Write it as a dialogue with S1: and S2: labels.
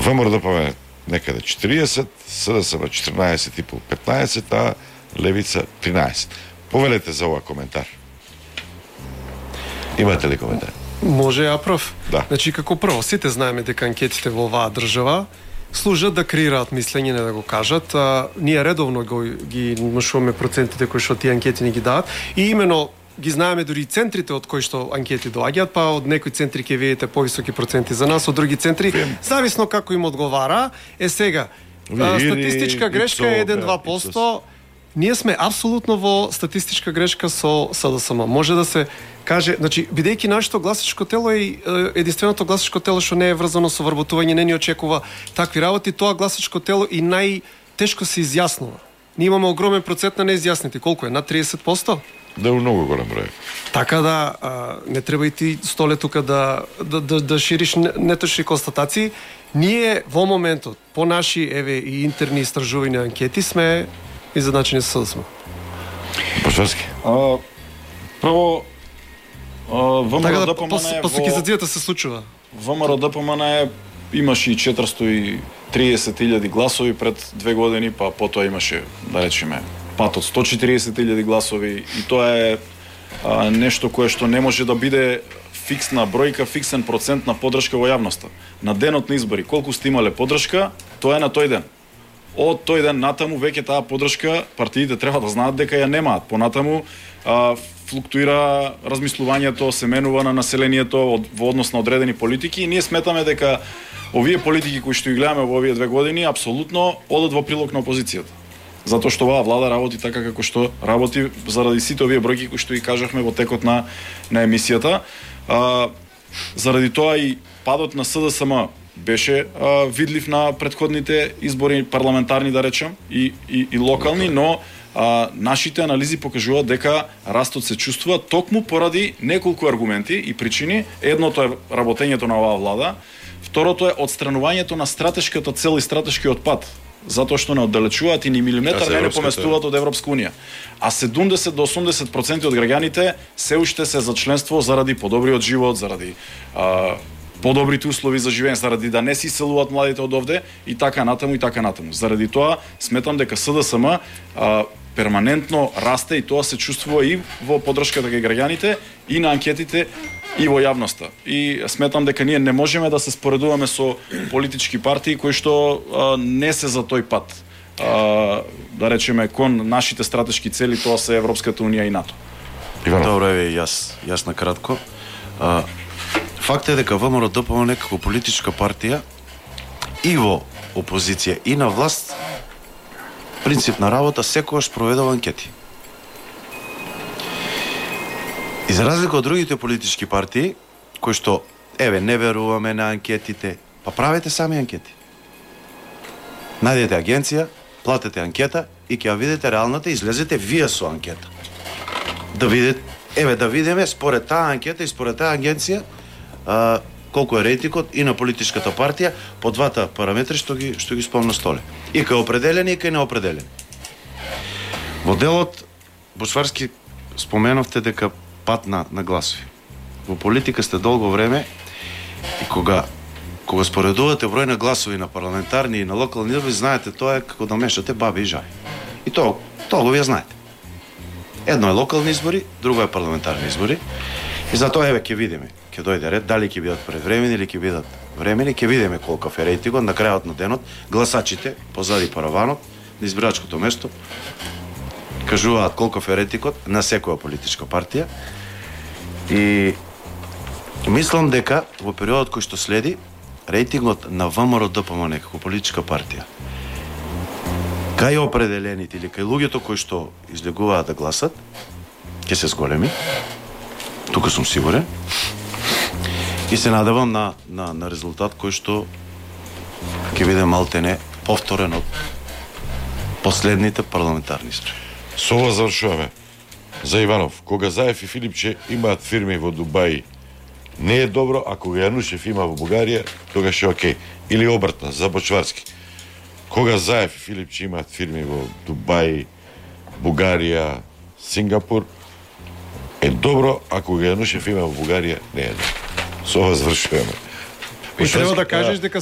S1: ВМРО ДПМН некаде 40, СДСМ 14,5-15, а Левица 13. Повелете за ова коментар. Имате ли коментар?
S2: Може ја прв.
S1: Да.
S2: Значи, како прво, сите знаеме дека анкетите во оваа држава служат да креираат мислење, не да го кажат. Ние редовно ги внушуваме процентите кои што тие анкети ни ги дадат и именно ги знаеме дури и центрите од кои што анкети доаѓаат, па од некои центри ќе видите повисоки проценти за нас, од други центри зависно како им одговара. Сега статистичка грешка е 1-2%. Ние сме апсолутно во статистичка грешка со СДСМ. Може да се каже, значи, бидејќи нашето гласачко тело е единственото гласачко тело што не е врзано со вработување, не ни очекува такви работи, тоа гласачко тело и најтешко се изјаснува. Ние имаме огромен процент на неизјаснети. Колку е? Над 30%?
S1: Да, многу голем број.
S2: Така да, не треба и ти, Столе, тука да шириш неточни констатации. Ние во моментот, по наши и интерни истражувања анкети, сме изjednačени со СДСМ.
S1: Бошварски.
S3: Прво, ВМРО ДПМН
S2: пасокизацијата се случува.
S3: ВМРО ДПМН имаше и 430.000 гласови пред 2 години, па потоа имаше, да речеме, пат од 140.000 гласови и тоа е нешто кое што не може да биде фиксна бројка, фиксен процент на поддршка во јавноста. На денот на избори, колку сте имале поддршка, тоа е на тој ден. Од тој ден натаму веќе таа поддршка партиите треба да знаат дека ја немаат. Понатаму флуктуира размислувањето, се менува на населението во однос на одредени политики и ние сметаме дека овие политики кои што ги гледаме во овие 2 години апсолутно одат во прилог на опозицијата. Затоа што оваа влада работи така како што работи заради сите овие бројки кои што ги кажавме во текот на емисијата. Заради тоа и падот на СДСМ беше видлив на претходните избори парламентарни, да речем, и локални, но нашите анализи покажуваат дека растот се чувствува токму поради неколку аргументи и причини. Едното е работењето на оваа влада, второто е отстранувањето на стратешката цел и стратешкиот пат, затоа што не оддалечуваат и ни милиметар не поместуваат од Европска унија. А 70 до 80% од граѓаните се уште се за членство заради подобриот живот, заради подобрите услови за живење, заради да не се иселуваат младите од овде и така натаму и така натаму. Заради тоа сметам дека СДСМ перманентно расте и тоа се чувствува и во поддршката кај граѓаните и на анкетите и во јавноста. И сметам дека ние не можеме да се споредуваме со политички партии кои што не се за тој пат. Да речеме кон нашите стратешки цели, тоа се Европската унија и НАТО.
S4: Добро е, јас на кратко. Факт е дека ВМРО ДПМН како политичка партија и во опозиција и на власт принцип на работа секогаш проведува анкети. И за разлика од другите политички партии кои што не веруваме на анкетите, па правете сами анкети. Најдете агенција, платете анкета и ќе ја видите реалната, излезете вие со анкета. Да видите, да видиме според таа анкета и според таа агенција колку е рейтингот и на политичката партија по двата параметри што ги спомна Столе. И кај определени и кај неопределени. Во делот Бошварски споменавте дека пат на гласови. Во политика сте долго време и кога споредувате број на гласови на парламентарни и на локални избори, знаете тоа е како да мешате баби и жаби. И тоа го вие знаете. Едно е локални избори, друго е парламентарни избори. И затоа ќе видиме, ќе дојде ред, дали ќе бидат предвремени или ќе бидат времени, ќе видиме колков е рейтингот на крајот на денот. Гласачите позади параванот на избирачкото место кажуваат колков е рейтингот на секоја политичка партија. И мислам дека во периодот кој што следи, рейтингот на ВМРО ДПМН како политичка партија кај определените или кај луѓето кои што излегуваат да гласат ќе се зголеми. Тука сум сигурен. И се надевам на резултат кој што ќе биде малтене повторен од последните парламентарни избори.
S1: Со ова завршуваме. За Иванов, кога Заев и Филипче имаат фирми во Дубај, не е добро, ако го Јанушев има во Бугарија, тогаш е окей. Или обратно, за Бочварски. Кога Заев и Филипче имаат фирми во Дубај, Бугарија, Сингапур, е добро, ако го Јанушев има во Бугарија, не е добро. Со ова завршуваме.
S2: И треба да кажеш дека